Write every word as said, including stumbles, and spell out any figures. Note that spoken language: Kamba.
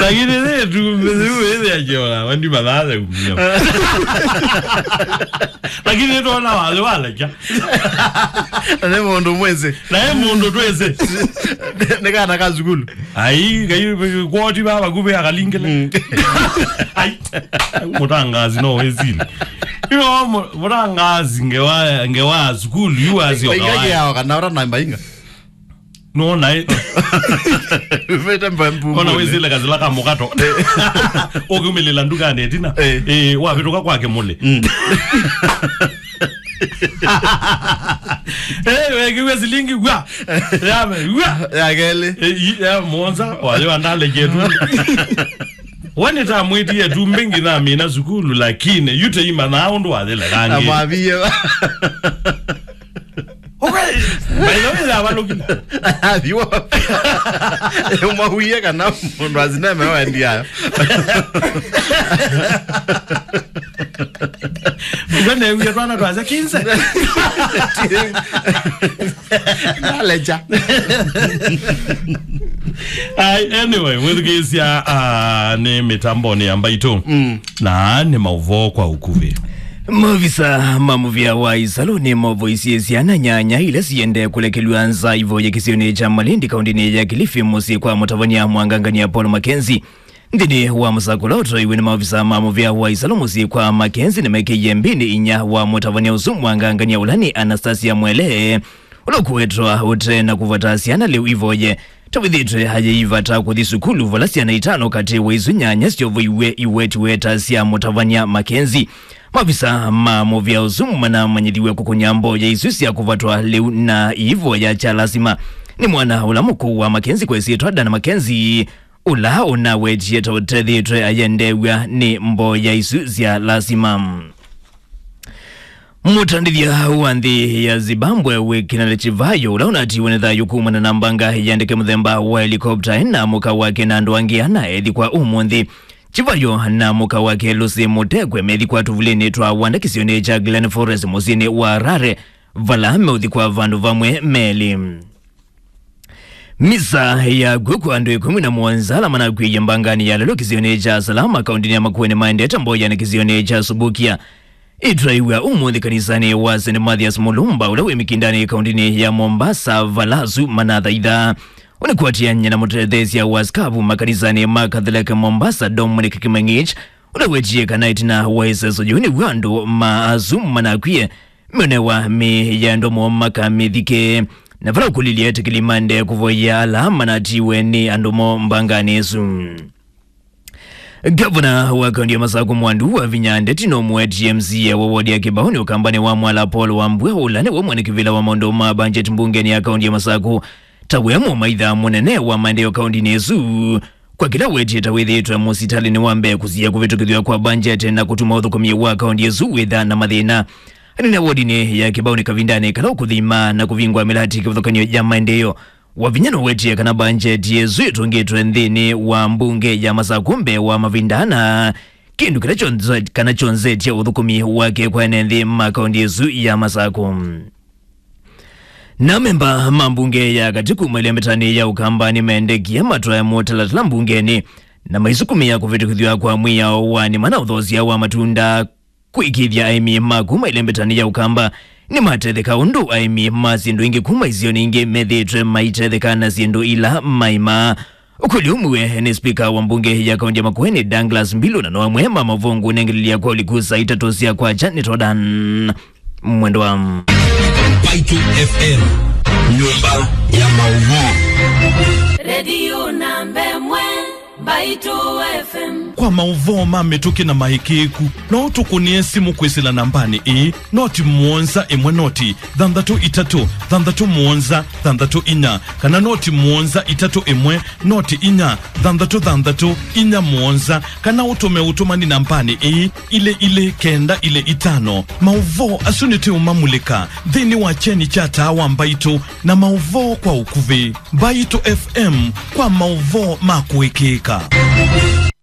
Lakini nĩ ĩtumbĩ yĩu ĩthĩa kĩona, wandi mathaa ya kumia. Lakini nĩtwona wathĩ walekya. Na nĩ mũndũ mwĩsĩ. Na nĩ mũndũ twĩsĩ. Nĩ kana ka sukulu. Ai, ngai, kwoti baba kuve akalingile. Mm. Ai, mũtangazi no wĩsili. Ino mu-, mũtangazi ngewa, ngewa sukulu, yu asio. Inga kawaida. Yao kana ora namba inga. No, naĩ. Vete mba mbu. Ona wĩsĩle kasila ka mũkato. Ũkiumĩlĩla ndukanĩ ĩtina. Eh. Eh, wavĩtũka kwake mũlĩ. Mm. Eh, wekiwe silingi gwa. Ya, gwa. Ya kelĩ. Eh, i-, ya mũonza, wale wandale jetu. Wani ta mwĩtie tu mbingi na mina sukulu, lakini yute ima na ũndũ wathile kangi. Amwavie. Okay. By the way, avalũkile. Athiwa. Ũmawie kana mũndũ asineme wendiayo. Ngwene uye twana twaze kinse. Naleja. Ai, anyway, mwĩthukĩĩsya, ah, nĩ mĩtambonĩ ya Mbaitũ. Mm. Na nĩ maũvoo kwa ũkuvĩ. Maovisa ma mũvĩa wa Isalu nĩmavoisye syana nyanya ila siendee kũlekelw'a nza ivoye kĩsionĩ kya Malindi, kaũndĩnĩ ya Kilifi, mũsyĩ kwa mũtavany'a Mwangangania Paul Mackenzie. Nthĩnĩ wa mũsako ũla ũtoiwe nĩ maovisa ma mũvĩa wa Isalu mũsyĩ kwa Mackenzie, nĩmekĩie mbĩnĩ inya wa mũtavany'a ũsu Mwangangania, ũla nĩ Anastasia Mwele, ũla ũkũwetwa ũte na kũvata syana lĩu ivoye. Tavithĩtwe ayei vata kũthi sukulu, vala syana itano katĩ wa isu nyanya syovoiw'e iwetiwe ta sya mũtavany'a Mackenzie. Maovisa ma mũvĩa ũsu manamanyĩthiw'e kũkũnya mboya isu sya kũvatwa lĩu na iivoya kya lasima nĩ mwana ũla mũkũũ wa Mackenzie kwa ĩsyĩtwa Dan Mackenzie, ũla ũnawetie ta ũtethĩtwe ayendeew'a nĩ mboya isu sya lasima. Mũtandĩthya wa nthĩ ya Zimbabwe wĩ Kinali Chivayo, ũla ũnatiwe nĩ thayũ kumana na mbanga ya ndeke mũthemba wa helikopta, ena mũka wake na andũ angĩ ana ethikwa ũmũnthĩ. Chivayo na mũka wake Lucy Mutekwe methikwa tũvulĩnĩ twa wanda kĩsionĩ kya Glen Forest mũsyĩnĩ wa Harare, vala meũthikwa vandũ vamwe melĩ. Misa ya kw'o kwa andũ ĩkũmi na mũonza ala manakw'ĩie mbanganĩ ya lelũ kĩsionĩ kya Salama, kaũndĩnĩ ya Makueni, maendete mboyanĩ kĩsionĩ kya Subukia. Ĩtwaiw'a ũmũnthĩ kanisanĩ wa Saint Mathias Mulumba, ũla wĩ Mikindani, kaũndĩnĩ ya Mombasa, vala asu manathaitha. Ũnĩkwatĩany'a na mũtetheesya wa sikavu makanisanĩ ma Catholic Mombasa, Dominic Kimengich, ũla wetie kana ĩtina wa ĩseso yĩu nĩw'o andũ ma asu manakwie meũnewa mĩĩ ya andũ moo makamĩthike, na vala ũkũlilye etĩkĩli maendee kũvoyea ala manatiwe nĩ andũ moo mbanganĩ ĩsu. Gavana wa kaũntĩ ya Masakũ Mwandu Wavinya Ndeti nũmũetie M C A wa wodi ya Kĩbaũnĩ Ũkambanĩ wa Mwala Paul Wambua, ũla nĩwe mwene kĩvĩla wa maũndũ ma mbanjeti mbungenĩ ya kaũntĩ ya Masakũ, ta we mũmaitha mũnene wa maendeeo kaũntĩnĩ ĩsu. Kwa kĩla wetie ta wĩthĩĩtwe mũsitalĩnĩ wa mbee kũsiĩa kũvĩtũkĩthw'a kwa mbanjeti na kũtuma ũthũkũmi wa kaũntĩ ĩsu wĩtha na mathĩna. Anene wodinĩ ya Kĩbaũnĩ kavindanĩ kala ũkũthima na kũvingwa mĩlati kĩvathũkany'o ya maendeeo, Wavinya nũwetie kana mbanjeti ĩsu ĩtũngĩtwe nthĩnĩ wa mbunge ya Masakũ mbee wa mavinda ana, kĩndũ kĩla kyonze-, kana kyonzetye ũthũkũmi wake kwa ene nthĩ ma kaũntĩ ĩsu ya Masakũ. Na amemba ma mbunge ya katĩ kuma ĩlembetanĩ ya Ũkamba nĩmendekie matwae mũtalatala mbungenĩ na maisukumĩa kũvĩtũkĩthw'a kwa mwĩao wa nĩma na ũthosya wa matunda kũĩkĩĩthya aĩmi ma kuma ĩlembetanĩ ya Ũkamba nĩmatetheka, ũndũ aĩmi ma syĩndũ ingĩ kuma isionĩ ingĩ methĩĩtwe maitetheka na syĩndũ ila maĩmaa. Ũkũlyo ũmwe nĩ spika wa mbunge ya kaũntĩ ya Makueni, Douglas Mbilu, na no amwe ma mavongo nengelelia kwa ũliku saa itatũ sya kwakya. Nĩ Todan Mwendwa. Mbaitũ F M, nyũmba ya maũvoo. Redio namba ĩmwe, Mbaitũ F M. Kwa maũvoo ma mĩtũkĩ na maĩkĩĩku, no ũtũkũnĩe simũ kwĩsĩla nambanĩ ĩĩ, noti mũonza ĩmwe noti thanthatũ itatũ thanthatũ mũonza thanthatũ inya, kana noti mũonza itatũ ĩmwe noti inya thanthatũ thanthatũ inya mũonza, kana ũtũme ũtũmani nambanĩ ĩĩ, ilĩ ilĩ kenda ilĩ itano. Maũvoo asu nĩtũũmamulĩka nthĩnĩ wa kyeni kya taa wa Mbaitũ na maũvoo kwa ũkuvĩ. Mbaitũ F M kwa maũvoo ma kũĩkĩĩka.